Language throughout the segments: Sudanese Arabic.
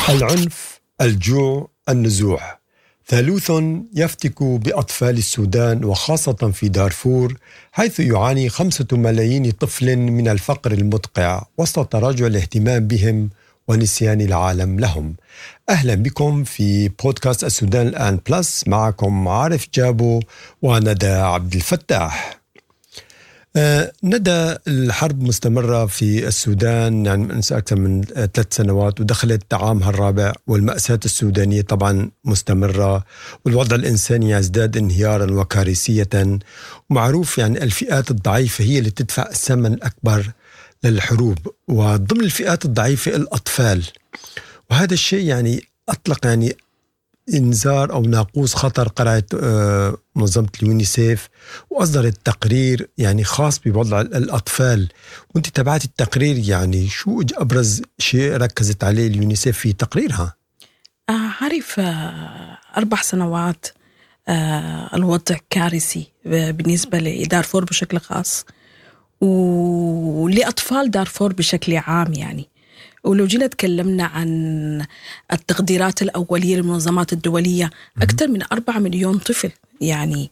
العنف، الجوع، النزوح، ثالوث يفتك بأطفال السودان وخاصة في دارفور، حيث يعاني 5 ملايين طفل من الفقر المدقع وسط تراجع الاهتمام بهم ونسيان العالم لهم. أهلا بكم في بودكاست السودان الآن بلس، معكم عارف جابو وندى عبد الفتاح. ندى، الحرب مستمرة في السودان يعني من أكثر من 3 سنوات ودخلت عامها الرابع، والمأساة السودانية طبعا مستمرة، والوضع الإنساني يزداد انهيارا وكارثية. ومعروف يعني الفئات الضعيفة هي اللي تدفع الثمن الأكبر للحروب، وضمن الفئات الضعيفة الأطفال. وهذا الشيء يعني أطلق يعني انذار او ناقوس خطر قرعت منظمة اليونيسيف، واصدرت تقرير يعني خاص بوضع الاطفال. وانت تابعت التقرير، يعني شو ابرز شيء ركزت عليه اليونيسيف في تقريرها؟ عارف، 4 سنوات الوضع كارثي بالنسبة لدارفور بشكل خاص ولأطفال دارفور بشكل عام يعني. ولو جينا تكلمنا عن التقديرات الأولية للمنظمات الدولية، أكثر من 4 مليون طفل يعني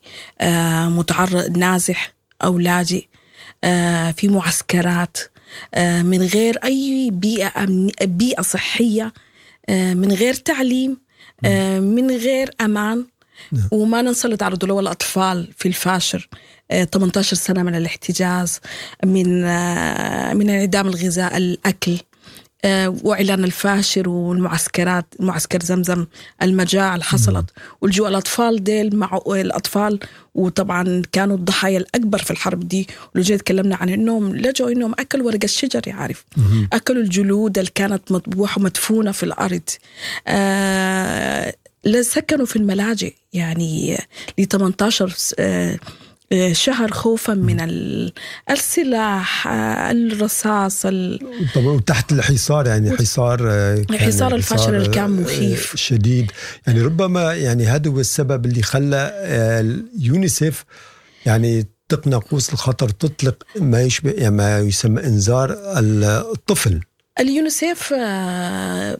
متعرض، نازح أو لاجئ في معسكرات من غير أي بيئة صحية، من غير تعليم، من غير أمان. وما ننسى اللي تعرضوا له الأطفال في الفاشر، 18 سنة من الاحتجاز، من انعدام الغذاء، الأكل، واعلان الفاشر والمعسكرات، معسكر زمزم، المجاعة اللي حصلت والجوع. الاطفال ديل مع الاطفال وطبعا كانوا الضحايا الاكبر في الحرب دي. ولو جيت تكلمنا عن انهم لجوا انهم اكلوا ورق الشجر، يعرف، اكلوا الجلود اللي كانت مطبوحه ومدفونه في الارض، سكنوا في الملاجئ يعني ل 18 شهر خوفا من السلاح، الرصاص. طبعا، وتحت الحصار، يعني حصار كان حصار الفاشر اللي كان مخيف. شديد. يعني ربما يعني هذا هو السبب اللي خلى اليونيسف يعني تطلق ناقوس الخطر، تطلق ما يشبه يعني ما يسمى انذار الطفل. اليونيسيف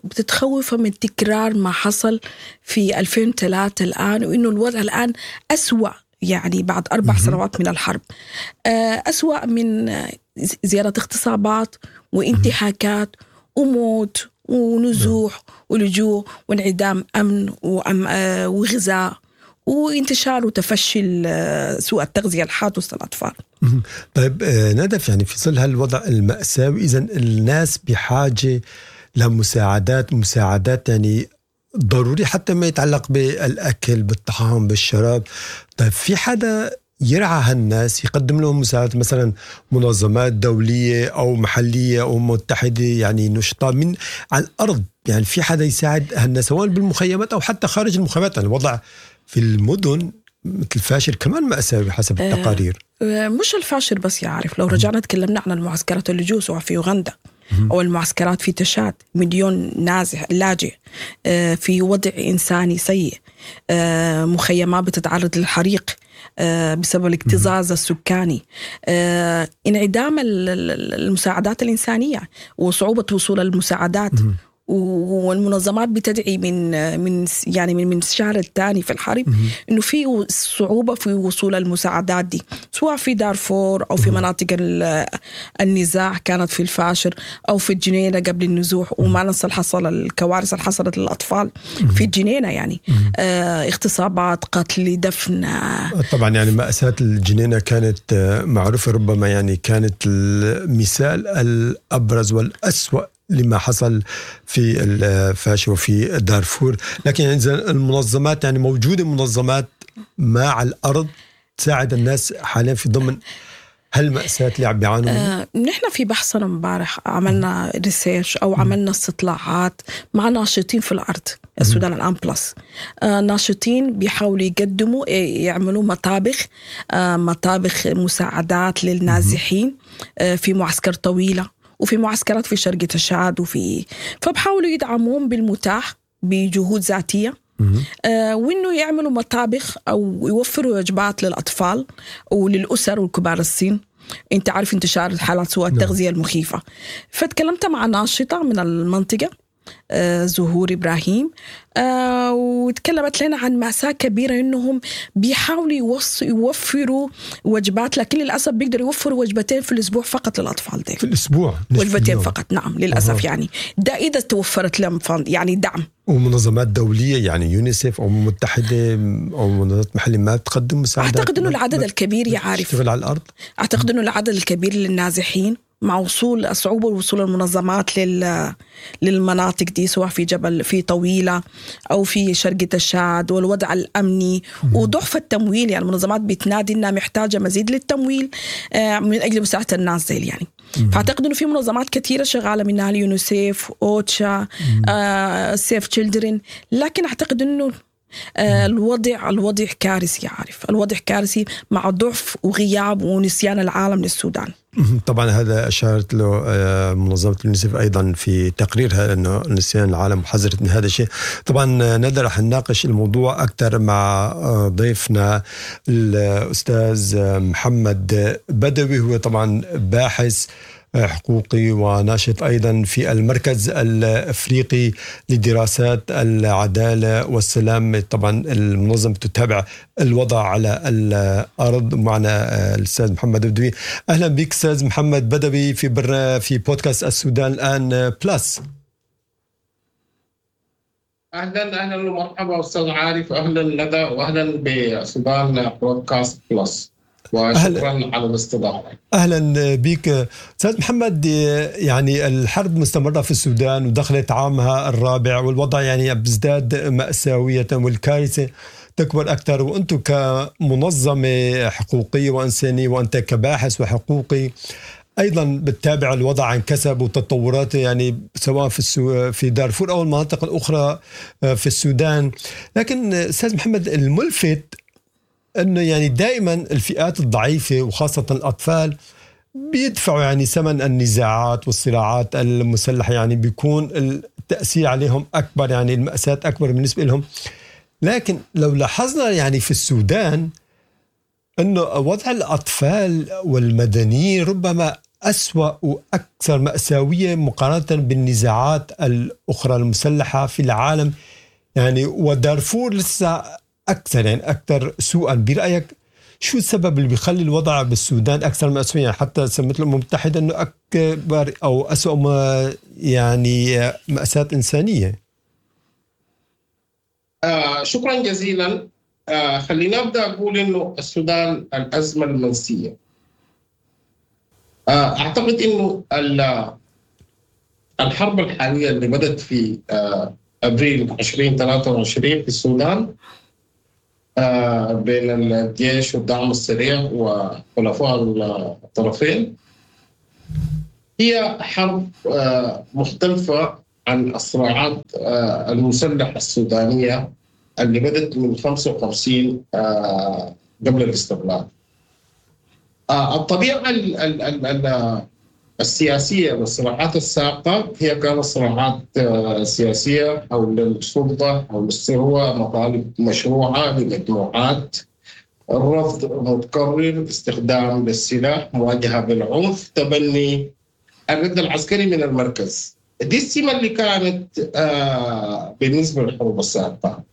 بتتخوف من تكرار ما حصل في 2003 الآن، وإنه الوضع الآن أسوأ، يعني بعد 4 سنوات من الحرب أسوأ، من زيادة اغتصابات وانتهاكات وموت ونزوح ولجوء وانعدام أمن وغذاء وانتشار وتفشي سوء التغذية الحاد وسط الأطفال. طيب ندى، يعني في ظل هالوضع المأساوي، إذا الناس بحاجة لمساعدات، مساعدات يعني ضروري، حتى ما يتعلق بالأكل، بالطعام، بالشراب. طيب في حدا يرعى هالناس، يقدم لهم مساعدات، مثلا منظمات دولية أو محلية أو متحدة، يعني نشطاء من على الأرض، يعني في حدا يساعد هالناس سواء بالمخيمات أو حتى خارج المخيمات؟ يعني الوضع في المدن مثل الفاشر كمان مأساوي حسب التقارير. مش الفاشر بس يا عارف، لو رجعنا تكلمنا عن المعسكرات اللجوء سواء في يوغندا أو المعسكرات في تشاد، مليون نازح لاجئ في وضع إنساني سيء، مخيمات بتتعرض للحريق بسبب الاكتظاظ السكاني، انعدام المساعدات الإنسانية وصعوبة وصول المساعدات. والمنظمات بتدعي من يعني من الشهر الثاني في الحرب انه في صعوبة في وصول المساعدات دي، سواء في دارفور او في مناطق النزاع كانت في الفاشر او في الجنينة قبل النزوح. وما ننسى حصل الكوارث اللي حصلت للاطفال في الجنينه، يعني اغتصابات، قتل، دفن. طبعا، يعني مأساة الجنينة كانت معروفة، ربما يعني كانت المثال الأبرز والأسوأ لما حصل في الفاشر وفي دارفور. لكن يعني المنظمات، يعني موجودة منظمات ما على الأرض تساعد الناس حاليا في ضمن هالمأساة اللي عم بيعانوا منها؟ نحن في بحثنا امبارح عملنا research او عملنا استطلاعات مع ناشطين في الارض، السودان الان بلس، ناشطين بيحاولوا يقدموا، يعملوا مطابخ مساعدات للنازحين في معسكر طويلة وفي معسكرات في شرق تشاد وفي، فبحاولوا يدعموهم بالمتاح بجهود ذاتيه وانه يعملوا مطابخ او يوفروا وجبات للاطفال وللاسر والكبار السن. انت عارف انتشار حالات سوء التغذية المخيفه. فتكلمت مع ناشطة من المنطقه. زهور إبراهيم، وتكلمت لنا عن مأساة كبيرة إنهم بيحاولوا يوفروا وجبات، لكن للأسف بيقدروا يوفروا وجبتين في الأسبوع فقط للأطفال دي. في الأسبوع وجبتين فقط، نعم للأسف. يعني ده إذا توفرت لهم يعني دعم. ومنظمات دولية يعني يونيسيف أو متحدة أو منظمات محلية ما تقدم مساعدات؟ أعتقد إنه العدد الكبير يعرف تشتغل على الأرض. أعتقد إنه العدد الكبير للنازحين مع وصول صعوبة وصول المنظمات للمناطق دي، سواء في جبل في طويلة أو في شرقة الشاد، والوضع الأمني وضعف التمويل. يعني المنظمات بتنادي إنها محتاجة مزيد للتمويل من أجل مساعدة الناس دي يعني. فأعتقد إنه في منظمات كثيرة شغالة، منها اليونيسيف، أوتشا، Save Children، لكن أعتقد إنه الوضع كارثي، عارف الوضع كارثي مع ضعف وغياب ونسيان العالم للسودان. طبعا هذا أشارت له منظمة اليونيسف أيضا في تقريرها، أنه نسيان العالم حذرت من هذا الشيء. طبعا ندى رح نناقش الموضوع أكثر مع ضيفنا الأستاذ محمد بدوي، هو طبعا باحث حقوقي وناشط أيضا في المركز الأفريقي لدراسات العدالة والسلام. طبعا المنظمة تتابع الوضع على الأرض. معنا الأستاذ محمد بدوي. أهلا بك أستاذ محمد بدوي في بودكاست السودان الآن بلس. أهلا ومرحبا أستاذ عارف، أهلا ندى، وأهلا بسودان بودكاست بلس، وشكرا على الاستضافة. أهلا بك أستاذ محمد. يعني الحرب مستمرة في السودان ودخلت عامها الرابع، والوضع يعني بيزداد مأساوية والكارثة تكبر أكثر، وأنتم كمنظمة حقوقية وإنسانية وأنت كباحث وحقوقي أيضا بتتابع الوضع عن كثب وتطوراته، يعني سواء في دارفور أو المناطق الأخرى في السودان. لكن أستاذ محمد، الملفت أنه يعني دائما الفئات الضعيفة وخاصة الأطفال بيدفعوا يعني ثمن النزاعات والصراعات المسلحة، يعني بيكون التأثير عليهم أكبر، يعني المأساة أكبر بالنسبة لهم. لكن لو لاحظنا يعني في السودان أنه وضع الأطفال والمدنيين ربما أسوأ وأكثر مأساوية مقارنة بالنزاعات الأخرى المسلحة في العالم، يعني ودارفور لسه أكثر، يعني أكثر سوءا. برأيك شو السبب اللي بيخلي الوضع بالسودان أكثر مأساوية؟ يعني حتى سمت الأمم المتحدة أنه أكبر أو أسوأ ما يعني مأساة إنسانية. شكرا جزيلا. خلينا أبدأ أقول إنه السودان الأزمة المنسية. أعتقد إنه الحرب الحالية اللي بدأت في أبريل 2023 في السودان بين الجيش والدعم السريع وخلفاء الطرفين هي حرب مختلفة عن الصراعات المسلحة السودانية اللي بدأت من 55 قبل الاستقلال. الطبيعة السياسية للصراعات السابقة هي كانت صراعات سياسية حول السلطة، حول الثروة، مطالب مشروعة لمجموعات، الرفض متكرر، استخدام للسلاح، مواجهة بالعنف، تبني الرد العسكري من المركز. دي السمة اللي كانت بالنسبة للحروب السابقة.